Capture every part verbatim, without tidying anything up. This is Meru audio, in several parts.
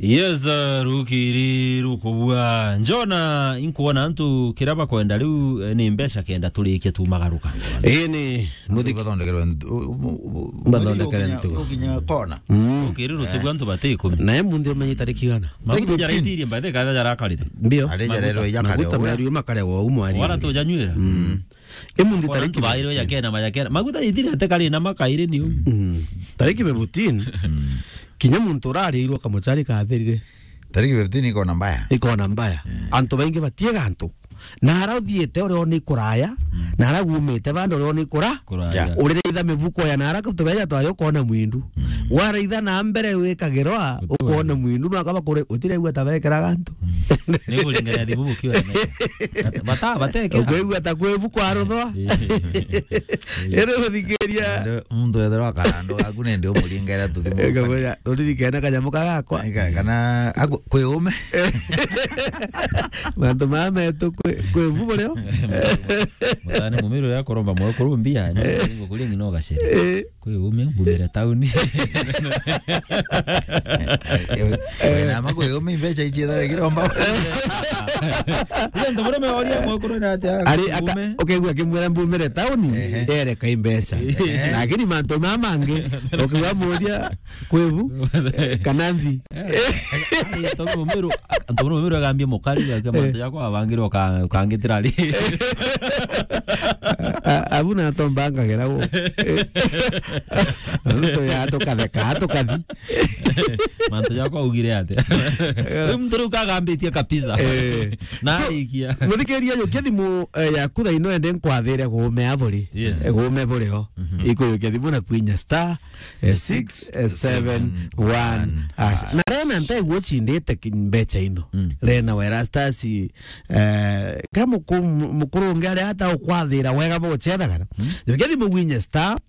Yes, uh, rukiri rukubua. Njona, inkuona antu kiria bakwenda riu, eh, ni mbeca kenda turikie tumagaruka. Ii ni muthi- Batho bathondekerwe ntu-, u-, u-, u-, Bathondekere ukinya, ntugo. Ukinya kona. Mm. Ukiri rutugu antu bati ikumi. Na emunthi umenye tariki igana? Maguta Tariki fifteen. Jaretirie mbathi kana jarakarire. Ndio. Ari jarero Maguta, ijakare maguta owe. Meru makaregwa umo ari. Wala tujanywira. Mm. Emunthi Kona tariki antu bairwe fifteen. Jakena majakena. Maguta ithire ate kari na makaire ni u. Mm. Tariki fifteen. Kinya muntu urariirwo kamuchari katherire. Tariki fifteen ikona mbaya. Ikona mbaya. Eh. Antu baingi batiega antu. Na ara uthiite uria ni kuraya, na ara gumite bando uria ni kura. Kuraya. Ja. Uriraitha mibuko ya na ara tubeja twari ukona mwindu. Waraitha na mbere wikagirwa ukona mwindu, no akaba kure utiregua ta bekeraga antu. Ni kuringana thimu bukiwa. Bata, bateke. Ukwigua ta kwibu kwa ruthwa. Eh. Ere uthikiria. Muntu ethirwa akarando gaku nende umuringera tuthimu. Ega boya, uririkene kanyamu kagakwa. Ega, kana aku-, kwi ume. Mantu maya metu kwi, kwi vubo leo. Mutane mumiru ya kuromba mwe kurumbia, ni kuringa no gacere. Eh. Kwi ume, mbumire tauni. Eh, eh, na ma kwi ume, mbeca ichi etha wekiromba. Ile ndo murume oria mwe kurona ati ari aka-, ume. Ukegua kimwira mbumire tauni, ehe, ere kai mbeca. Ehe. Lakini mantu mama mangi, ukigwa muria, Kwibu, eh, kana nthi. Eh, antu mumiru, antu mumiru agambia mukari, gake mantu jakwa abangire uka-, ukangitira ri. A-, abu na tomba ngagera wo. Ruto ya tukatheka, tukathi. Mantu jakwa ugire ate. Uyu muntu riu kagambitie kabisa. Eh. Na so, arikia. Muthikiria, yukia thimu, eh, yaku thaa ino ende nkwathire gume aburi. Yes. Eh, gume buri ho. Mhm. Ikuyukia thimu na kwinya star eh, six seven one hash. Na Rena ntegwo chindite ki-, mbecha ino. Mm. Rena wa Erastus, eh, ka muku-, mu-, mukuru ungi aria ata ukwathira wega buguchethagana. Mm. Njokia thimu gwinye star,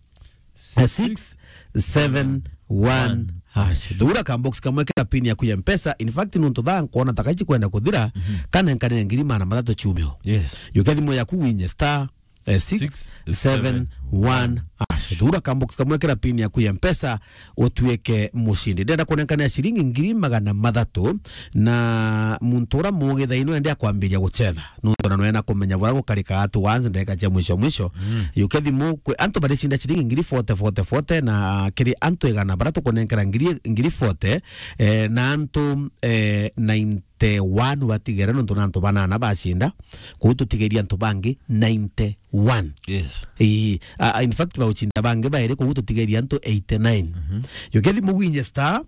eh, six seven one hash. Thura ka box kamwe kira pin yaku ya Mpesa. In fact, nuntu thaa nkwona ta kaichi kwenda kuthira, mhm, kana nkanire ngiri magana mathatu ciumio. Yes. Njokia thimu yaku gwinye star, eh, six seven one hash. Thura ka box kamwe kira pin yaku ya Mpesa, utuike mushindi. Ndenda kunenkania ciringi ngiri magana mathatu, na muntu ura mugi thaa ino ende akwambiria guchetha. Nuntu na nwena kumenya bura gukarika at once ndeka cia mwisho mwisho. Mm. Yuke thimu kwi antu baricinda ciringi ngiri forty, forty, forty, na kiri antu igana bara tukunenkera ngiri, ngiri forty, eh, na antu, eh, nine te one batigere, nontu na antu banana bacinda, kuu tutigeria antu bangi ninety-one. Yes. Ii, a, a, in fact, baucinda bangi bairi, kuu tutigeria antu eighty-nine. Mhm. Yuke thimu gwinye star,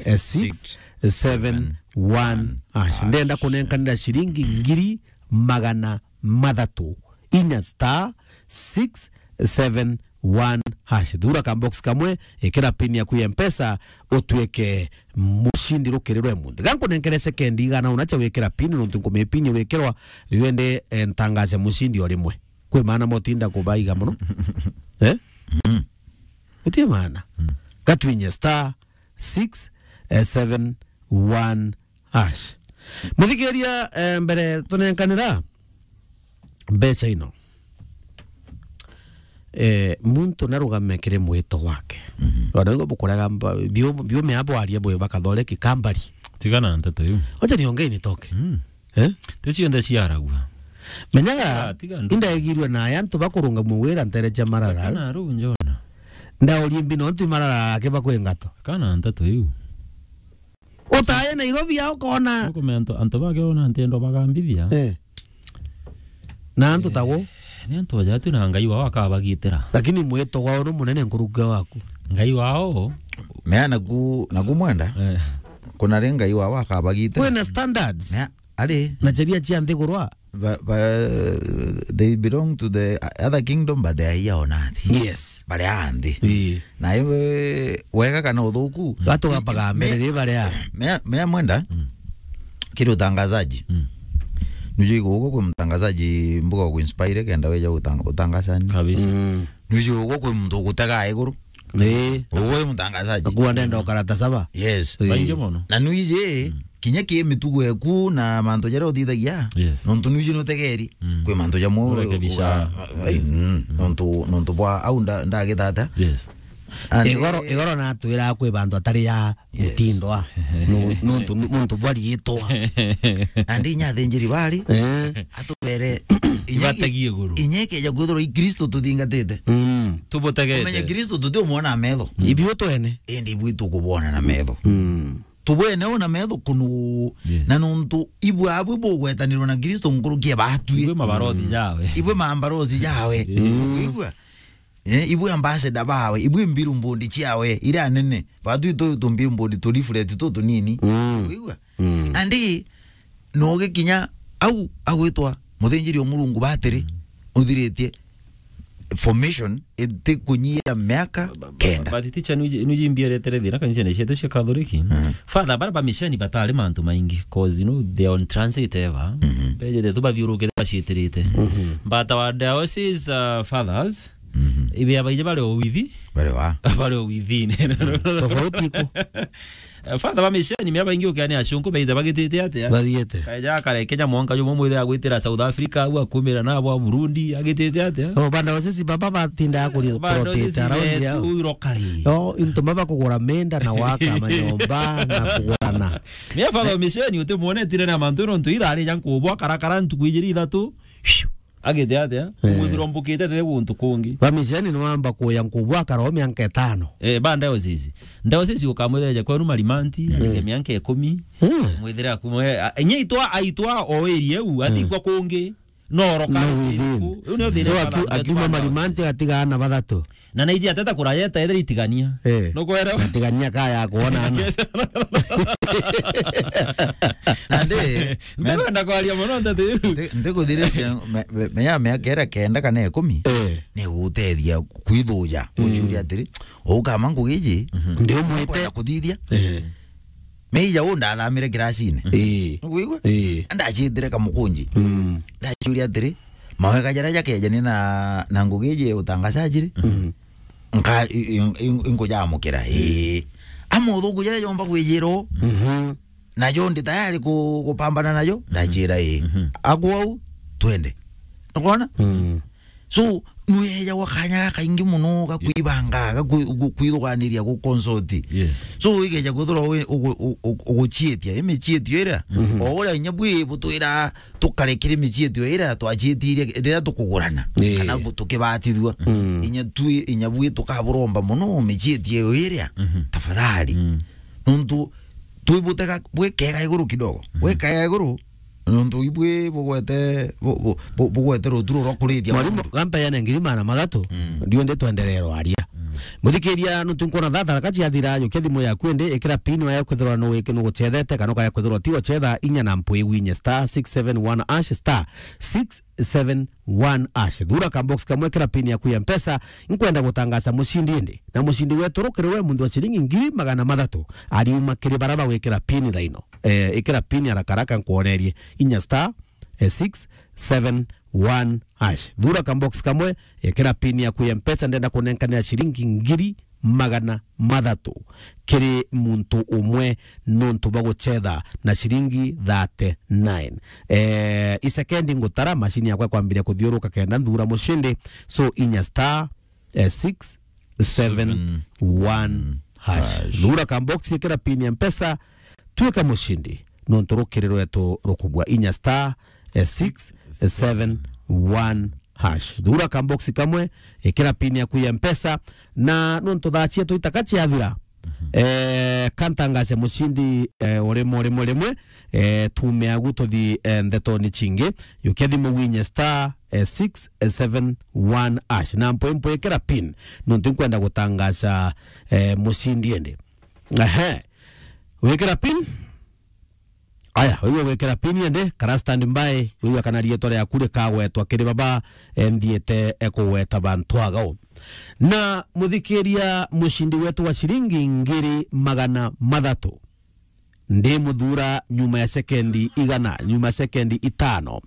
eh, six seven one hash. Ndenda kunenkanira ciringi ngiri magana mathatu inya star six seven one hash. Thura ka box kamwe, ikira pin yaku ya Mpesa, utuike mushindi rukirirwe munthi. Ga nkunenkere sekendi igana una cia wikira pin, nontu nkumia pin wikirwa, riu ende, eh, ntangaze mushindi o rimwe. Kwi maana motinda kubaiga mono? Eh? Mm. Utie maana. Mm. Gatwinye star six seven one hash. Muthikiria, eh, mbere tunenkanira mbecha ino, eh, muntu narugame kiri mwito wake. Mhm. Wana igo bukurega mba-, biu-, biume abo aria bwe bakathore kikambari. Tigana na nteto iu. Wacha niongee nitoke. Mm. Eh? Ti cionthe ciaragua. Menyaga, ah, tiga ndu- indaegirwe na aya antu bakurungamua wira ntere cia Marara. Kana ru njona. Ndaorie mbi no ntu Marara ake bakwingatwa. Kana nteto iu. Utaye Nairobi ya ukona. Ukumenya antu, antu bake ona ntendo bagambithia. Eh. Na antu tago. Ni antu aja tu na Ngai wao akabagitira. Lakini mwito wao no munene nkurukia waku. Ngai wao. Mea naku, naku mwenda. Eh. Kuna ri Ngai wao akabagitira. Kwina standards. Mea, ari. Na sheria cia nthiguru. Ba, ba, they belong to the other kingdom, but they are here on earth. Yes. Bari a nthi. Ii. Na iwe wega kana uthuku. Gatugapaga mbere ri bari a. Mea, mea mwenda. Mm. Kiri utangazaji. Mm. Nujui guko kwi mtangazaji mbuga ku inspire kenda weja utang-, utangazani. Kabisa. Mm. Nujui guko kwi muntu ugutega iguru. Ii. Uwe mutangazaji. Nakuwa ndenda ukarata saba. Yes. Ii. Baingi mono. Na nuiji, mm, kinya ki mitugo eku na mantu jaria uthithagia, yes, nontu nuiji nutegeri, mm, kwi mantu jamwe urekebisha. Uga-, ai, mm, nontu, nontu bwa au nda-, ndagithata. Yes. Igoro, eh, igoro natwiraga kwi bantu atari ya, yes, mutindo a. Nu-, nuntu, nu-, muntu bwa riitwa. Nandi inya athinjiri bari, eh, atubere inya ike-, ibatagie iguru. Inya ikeja kwithirwa i Kristo tuthingatite. Mm. Tubutege. Umenye Kristo tutiumwona na metho. Ibu twene. Indi ibu tukubwona na metho. Mm. Tubwene u na metho kunu. Yes. Na nuntu ibu abwi bugwetanirwa na Kristo nkuruki ya batwi. Ibwe mabarothi jawe. Ibwe mambarothi jawe. Mm. Wigua? Eh, ibwe ambassador bawe, ibwe mbiru mbondi ciawe, ira nene. Batwi tu, tu mbiru mbondi tu leaflet tu tunini. Mm. Wigua? Mm. Andi, no gikinya au, agwitwa muthinjiri o Murungu batiri, mm, uthiritie formation itikunyira miaka kenda. But teacher, nuji-, nujimbieretere thina kanisa ni cietu cia Catholic. Mm. Father, bara ba misheni batari mantu maingi, 'cause, you know, they are on transit ever. Mm-hmm. Bejete tu bathiurukite baciitirite. Mm-hmm. But our diocese, uh, fathers, mm-hmm, ibe abaije bari o withi. Bari wa? Bari o within. Tofauti iko. Eh, Father ba misheni, mea baingi ukiani acunku, beitha bagitite atia? Bathiete. Kaeja akarekenya mwanka jumwe mwithira agwitira South Africa, au akumira na abo Burundi, agitite atia? Oh, banda osisi baba batinda kuri-, kurotete around yao. Uiro kari. Oh, into maba kugura menda na waka manyomba na kugurana. Mea Father ba misheni, utimwonetire na mantu nontu ithari ja nkubwa karakara ntuku ijiri ithatu. Agite atia? Eh. Umwithirwa mbukite te guntu kungi. Ba misheni ni wamba kuya nkubwa akara o mianka itano. Eh, ba diocese. Diocese ukamwitheja kwenu Marimanti, mm, arike mianka ikumi. Mm. Mwithire akumwe, a, inya itwa, aitwa o area u, mm, atikwa kungi. No oroka. No within. Riu ni thina. So, aki-, akiuma Marimanti atigaana bathatu. Na naiji ateta kuraya etaethera itigania. Eh. Nukwera? Itigania kaya kuona ana. Nandi, ndenda kwaria mono nteto iu. Nti-, ntikuthiriria me-, me-, menya miaka iria kenda kana ikumi, eh, ni gutethia kwithuja. Mm. Uchuria atiri, ukama ngugi iji, mhm, ndi umwite. Nkwenda kuthithia. Eh. Meija u ndathamire kirasine. Ii. Nukwigua? Ii. Ndacitire kamukunji. Mm. Ndachuria atiri, mawega jaria jakejani na, na ngugi iji utangazaji ri? Mm. Nka-, i-, i-, i-, inkujamukira. Ii. Ama uthuku jaria jomba kwijirwo. Mhm. Najo ndi tayari ku-, kupambana najo. Mhm. Ndachira ii. Mhm. Akwou, twende. Nukwona? Mm. So, nwejagwa kanya gakaingi mono ga kwibanga, ga kwi-, gu-, kwithuganiria, gu consult. Yes. So, igeja kwithirwa wi-, ugu-, u-, u-, uguchiitia, imichiitio iria, mhm, o uria inya bwi butwira tukare kiri michiitio iria twachiitirie riria tukugurana, yeah, kana bu-, tukibatithua. Mm. Inya twi, inya bwi tukaburomba mono michiitio iria, mhm, tafadhali. Mm. Nontu twibutega bwikega iguru kidogo. Mhm. Bwikega iguru, nontu ibwi bugwete, bu-, bu-, bu-, bugwete ruturo rwa kuriithia. Mwarimu, mundu. Gampa yana ngiri magana mathatu, mm, ndiundi twenderee rwaria. Mm. Muthikiria, nontu nkwona thaa thatu ciathira, jukia thimu yaku indi, ikira pin wayo kwithirwa nuwiki nuguchethete, kana ukaya kwithirwa ti wachetha, inya na mpwi winya star six seven one hash, star six seven one hash. Thura ka box kamwe, ikira pin yaku ya Mpesa, nkwenda gutangaza mucindi indi. Na mucindi wetu rukiri we muntu wa ciringi ngiri magana mathatu, ariuma kiri bara bagwikira pin thaino. Eh, ikira pin haraka haraka nkwonerie. Inya star, eh, six seven one hash. Thura ka box kamwe, ikira pin yaku ya Mpesa, ndenda kunenkanira ciringi ngiri magana mathatu kiri muntu umwe nontu bwa guchetha na ciringi thirty-nine. Eh, isekendi ngutara, mashini yakwa kwambiria kuthiuruka kenda nthura mucindi. So, inya star, eh, six seven one hash. Hash. Thura ka box, ikira pin ya Mpesa, twika mucindi. Nontu rukiri rwetu rukubwa, inya star, eh, six seven one hash. Thura ka box kamwe, ikira pin yaku ya Mpesa, na nontu thaa cietu itaka ciathira, mhm, eh, kantangace mucindi, eh, o rimwe, rimwe, rimwe, eh, tume agu tuthi, eh, ndeto ni cingi. Yukia thimu winye star, eh, six seven one hash. Na mpwe mpwe ikira pin, nontu nkwenda gutangaca, eh, mucindi indi. Ehe. Wikira pin? Aya, wigua gwikira pin ende, kara stand by, wigua kana rietwa riaku rikagwetwa kiri baba, eh, nthiite, eh, kugweta bantu agao. Na muthikiria, mucindi wetu wa ciringi ngiri magana mathatu, ndi muthura nyuma ya sekendi igana, nyuma ya sekendi itano.